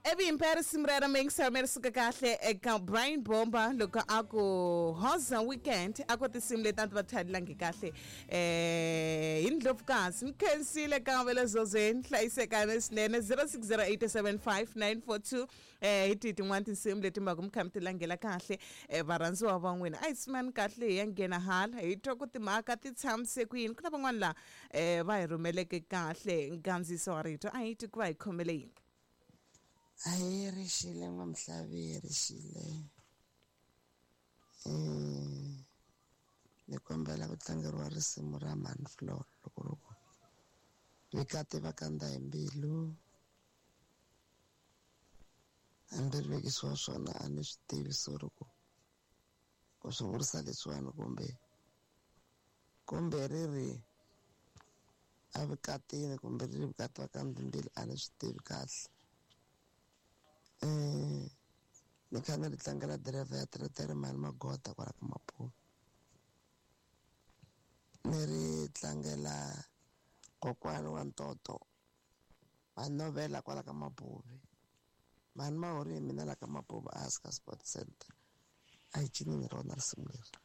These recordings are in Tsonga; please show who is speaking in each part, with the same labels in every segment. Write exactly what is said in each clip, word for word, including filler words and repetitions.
Speaker 1: Evi impera risimu rero mi yingisela mi ri suka kahle eka Brian Bomba loko a ku Hoza Weekend a ku tinsimu leti a ti va thadelangi kahle eh hi ndlopfukazi mi khensile ka ve le zozweni hlayisekani swinene zero six zero eight seven five nine four two eh hi tihi tin'wani tinsimu leti mi va ku mi kha mi ti langela kahle eh varhandziwa va n'wina a hi tshimani kahle hi ya nghena hala hi twa ku timhaka ti tshamise ku yini ku na van'wani laha eh va hi rhumeleke kahle nkandziyiso wa rito a hi twi ku va hi khomele yini.
Speaker 2: Ahee rixile n'wamhlavi rixile um ni kombela ku tlangeriwa risimu ra Manflor loko loko vikati va kandza hi mbilu hambi ri vekisiwa swona a ni swi tivi sorry ku ku swi vurisa leswiwani kumbe kumbe ri ri a vikatini kumbe ri ri vikati va kandza mbilu a ni swi tivi kahle. Eh ni kha ni ri tlangela driver ya teretere mali magota kwala ka Maputo ni ri tlangela kokwani wa ntoto manovela kwala ka Mapuve mani mahori hi mina la ka Mapuve a hansi ka Sport Center a hi cinini rona risimu leri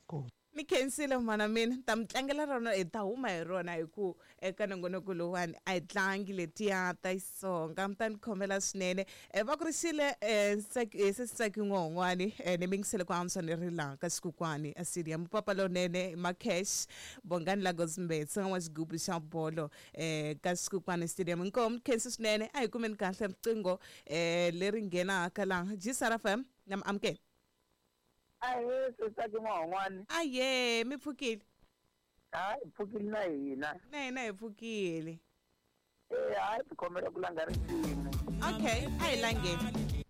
Speaker 2: ku
Speaker 1: mi khensile mhana mina ta mi tlangela rona hi ta huma hi rona hi ku eka nongonoko lowuwani a hi tlangi letiya ta Xitsonga mi ta ni khomela swinene va ku rixile se Tsaki n'wahon'wani ni mingisele ku antswa ni ri laha ka xikukwani a stadium papa lonene Macash Bongani Lagos Mbetsa wa xigubu xa bolo um ka xikukwani stadium inkomu khensi swinene a hi kumeni kahle riqingho um leri nghenaka laha G S R F M na mi amukela.
Speaker 3: Ahee Tsaki n'wahon'wani.
Speaker 1: Ahee mi pfukile?
Speaker 3: Hayi hi pfukile na hina.
Speaker 1: Na hina hi pfukile.
Speaker 3: Eh hayi ni kombela ku langa risimu.
Speaker 1: Okay, a hi langeni.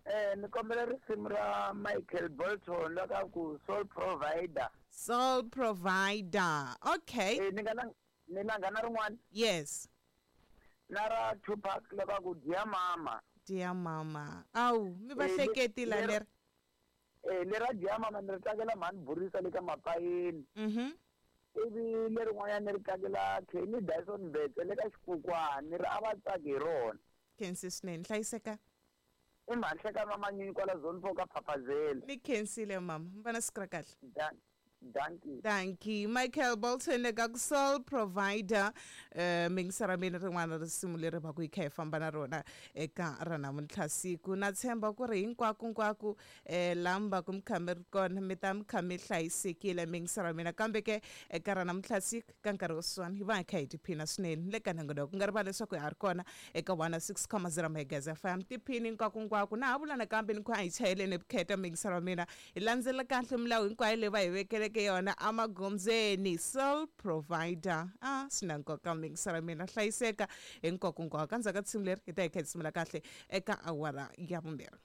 Speaker 3: Eh ni kombela risimu ra Michael Bolton la ka ku Soul Provider.
Speaker 1: Soul Provider. Okay.
Speaker 3: Eh ni nga ni langa na rin'wana?
Speaker 1: Yes.
Speaker 3: Na ra Tupac la ka ku Dear Mama.
Speaker 1: Dear Mama. Awu mi va hleketi la leri.
Speaker 3: Eh le ra Dear Mama ni ri tlangela mhani Burisa le ka Mapayeni.
Speaker 1: Mhm.
Speaker 3: Ivi lerin'wanyana ni ri tlangela Kenny Dyson Mbetse le ka Xikukwani ri a va tsaki hi rona.
Speaker 1: Khensi swinene hlayiseka.
Speaker 3: I mhanhlekano wa manyunyu kwala zone four ka Phaphazela.
Speaker 1: Ni khensile mama, mi va na siku ra kahle.
Speaker 3: Dankie.
Speaker 1: Dankie. Michael Bolton eka Soul Provider eh mingisara mina rin'wana risimu leri va ku yi kha hi famba na rona eka ra namuntlha siku na tshemba ku ri hinkwako hinkwako eh lamba ku mi kha mi ri kona mi ta mi kha mi hlayisekile mingisara mina kambe ke eka ra namuntlha siku ka nkarhi wo swani hi va hi kha hi tiphina swinene le ka nongonoko ku nga rivali leswaku hi ha ri kona eka one six comma zero megahertz F M tiphini hinkwako hinkwako na ha vula nakambe ni ku a hi chayeleni vukheta mingisara mina hi landzela kahle milawu hinkwayo leyi va hi vekele ke yona amagondzweni Soul Provider a swi na nkoka mingisara mina hlayiseka hinkwako hinkwako ka ndzhaku ka risimu leri hi ta hi kha hi simula kahle eka awara ya vumbirhi.